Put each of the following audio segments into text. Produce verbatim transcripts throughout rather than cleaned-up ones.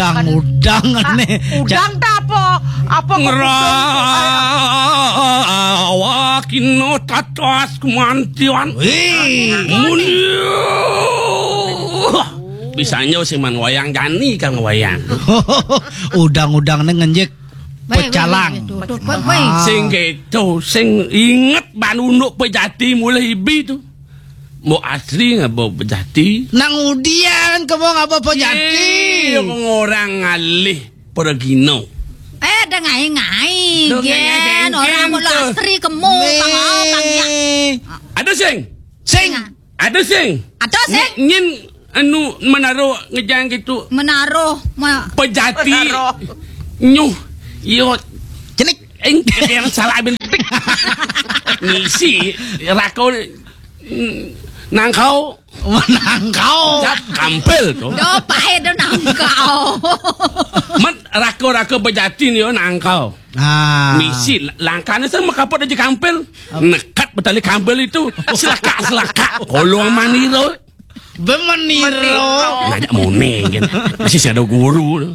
Udang, udang, aneh. Udang ta apa? Apa kok udang? Ngrawakina tatas kemantian. Wih. Mun bisa nyo sing man wayang jani kang wayang. Udang-udang ne ngenjek. Baik, baik, pecalang. Baik, baik, baik, baik. Ah. Sing keto, sing inget ban unduk pejati mulai ibi tu. Mbok asri ngaba pejati. Nang udian kemo ngaba pejati. Iya, orang ngalih pergino. Eh, dah ngai-ngai, Dah ngai-ngai, Gen. Orang Gen, mau lo tu. Asri kemo, Nih. Bang, oh, Bang, ya. Ada sing? Sing. Ada sing? Ada sing? Nyi-, nyin anu menaruh ngejang gitu. Menaruh, ma- Pejati. Menaruh. Nyuh. Yo. Cenik. Eng, yang salah bin. Ngisi rako, mm, nangkau. Nangkau. Cap kampel tu. Do pahe do nangkau. Mat rako-rako bejati ni yo nangkau. Ah. Misi la-, langkahnya saya makapot aja kampel. Nekat betali kampel itu. Selaka, selaka. Kolong maniro. Bemeniro. Ngajak mone kan. Masih ada guru tu.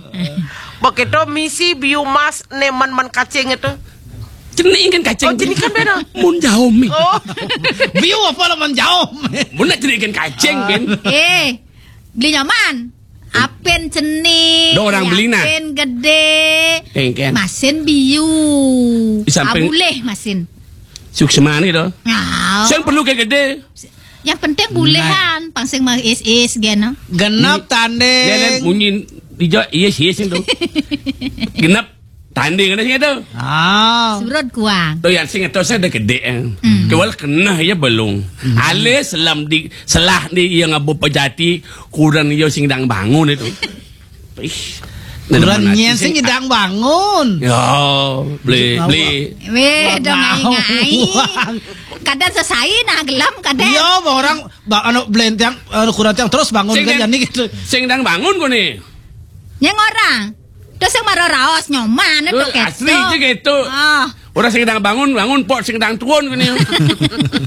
Begitu misi biu mas neman man kacing itu. Cenik kan kacing. Oh, cenik kan beda. Mun jauh mi. Oh. Biu apa lah man jauh? Mun nak cenik kan kacing kan. Eh, beli nyaman. Apen cenik. Dah orang beli nah. Apen gede. Kan, kan. Masin biu. Di samping. Ah, boleh masin. Suksma ni dah. Nah. Yang perlu ke gede. Yang penting bolehan, pangsing mah is-is gen, no? Genap tanding. Dia kan munyi hijau, yes, yes itu. Genap tanding ada sini tu. Ah. Surut kuang. Tu yang sing itu saya ada gede, eh. Hmm. Kewal kena ya belum. Hmm. Alis selam di selah di yang abu pejati kurang ya sing dang bangun itu. Ih, kurang nyen sing nyedang bangun. Ya, beli, beli. Weh, dong ngai-ngai. Kadang sesai nah gelam kadang. Iya, orang ba-, anu belentang, anu kurang tiang terus bangun sing kan dang, jadi gitu. Sing dang bangun kok ni. Yang orang. Terus yang marah raos nyoman itu asli aja gitu. Ah. Orang sing dang bangun, bangun pok sing dang tuun kok ni.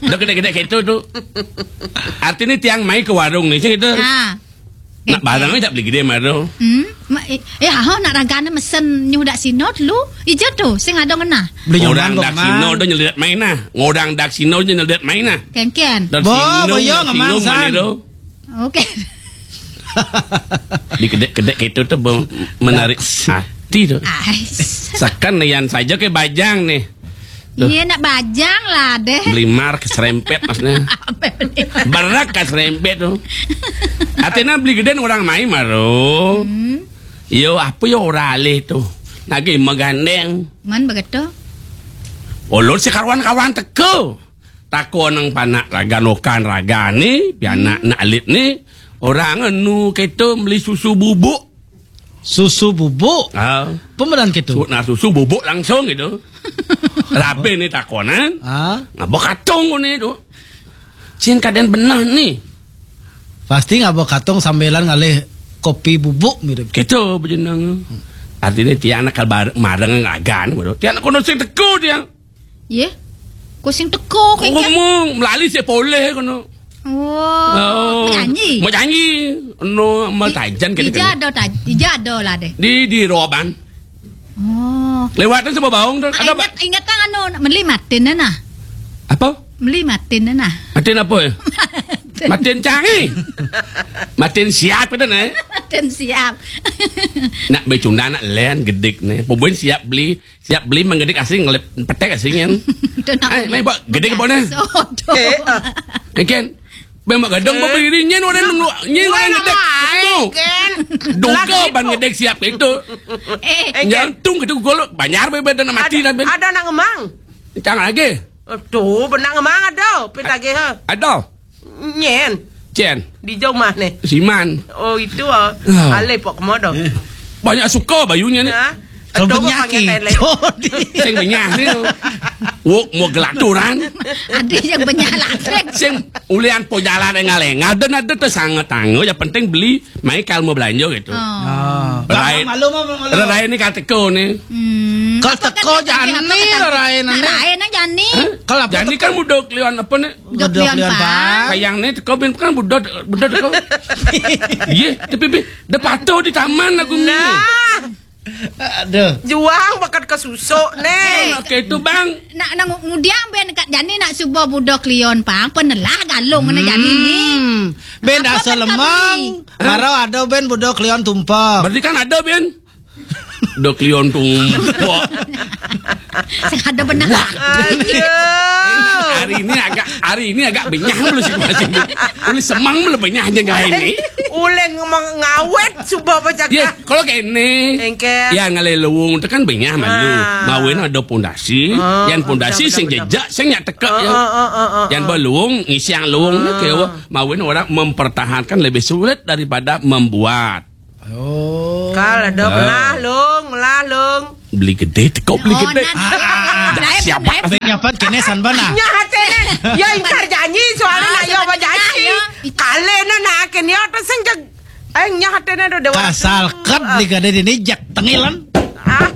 Udah gede-gede gitu tu. Artinya tiang mai ke warung ni sing gitu. Ah. Nak barang aja beli gede mah tu. Hmm? Ma-, eh, eh, aho nak ragane mesen nyuh dak sino dulu. Ija tu, sing ada ngena. Beli orang dak sino tu nyelidat main nah. Orang dak sino tu nyelidat main nah. Ken-ken. Dak sino, boyo ngemang sino san. Mana tu? Oke. Di kedek-kedek itu tu menarik hati tu. Ais. Sakan nian saja ke bajang ni. Iya, nak bajang lah deh. Beli mar keserempet maksudnya. Apa beli mar? Berak keserempet tu. Artinya beli geden orang mai maro. Hmm. Yo, apa yo orang alih tu? Lagi megandeng. Man begitu? Ulun si kawan-kawan teko. Tako nang panak raga nokan raga ni, pianak nak alit ni. Orang anu keto beli susu bubuk. Susu bubuk. Ah. Pemeran gitu. Nah, susu bubuk langsung gitu. Rabe ni takonan. Ah. Ngabok katong ni tu. Cin kaden benah ni. Pasti ngabok katong sambilan ngalih kopi bubuk mirip. Gitu bejenang. Artinya tiang nak kabar mareng ngagan gitu. Tiang nak kono sing teko tiang. Ye? Ko sing teko kengken. Ngomong melali sik poleh kono. Wah, oh, nyanyi. Mau nyanyi. No, mau tajan kene. Ija ada taj-, ija ada lah deh. Di, di Roban. Oh. Lewatan sama baung tu. Ah, ada ingat, ingat tang anu, meli matin nah. Apa? Meli matin nah. Matin apa ya? Matin. Matin canggih. Matin siap kita nah. Matin siap. Nak becunda nak len gedik nih. Pembuin siap beli Siap beli menggedik asing ngelip petek asing kan. Ai, mai bak gedik apa nih? Eh, ah. Kan. Memang gadang apa diri nyen orang nunggu nyen orang gedik. Kan. Dongka ban gedik siap itu. Eh, jantung gitu gol banyak bebeda nama mati dah. Ada nak ngemang. Cang lagi. Tuh, benang ngemang ada, pit lagi ha. Ada. Nyen. Cen. Di jauh mah nih. Siman. Oh, itu ah. Ah. Alih pok kemodo. Banyak suka bayunya ni. Nah. Kalau benyaki. Sing benyah ni. Wok mau gelaturan. Ada yang benyah lah. Sing ulian po jalan engal-engal dan ada tu sangat tangga. Yang penting beli, mai kal mau belanja gitu. Oh. Ah. Rerae, malu mah, malu. Rerae ni ka teka ni. Hmm. Kal teka jani, rerae ni. Rerae nang jani. Kal apa jani teka? Kan budak lion apa ni? Budak lion, Pak. Kayang ni teka bin kan budak, budak teka. Iya, tapi bin, dah patuh di taman aku ni. Nah. Aduh. Juang bakat ka susuk ni. Oke itu, Bang. Nak, nak ngudiang bin kat jani nak suba budak lion, Bang. Penelah galung kena jani ni. Hmm. Bin dah selemang. Baru ada bin budak lion tumpah. Berarti kan ada bin. Budak lion tumpah. Sing ada benar. Hari ini agak, hari ini agak benyah mulu situasi. Ulih semang mulu benyah je ngai ni. Ulih ngomong ngawet suba bajaga. Ya, kalau kene. Engke. Ya ngalai luung tu kan benyah malu. Ah. Mawin ada pondasi, ah, yang pondasi benar, sing benar, jejak, sing nyak teka ya. Ah, ah, ah, ah, yang berluung, ngisiang luung ni ke mawin orang mempertahankan lebih sulit daripada membuat. Oh. Kal ada melah lung, melah lung. Beli gede, teko beli gede. Dah siapa? Abang nyapan kene san bana. Nyah hati ni. Ya ingkar janji soalnya nak ya apa janji. Kale na nak kene ya tu sing jeg. Ai nyah hati ni ada dewa. Kasal kat beli gede ini jak tengilan. Ah.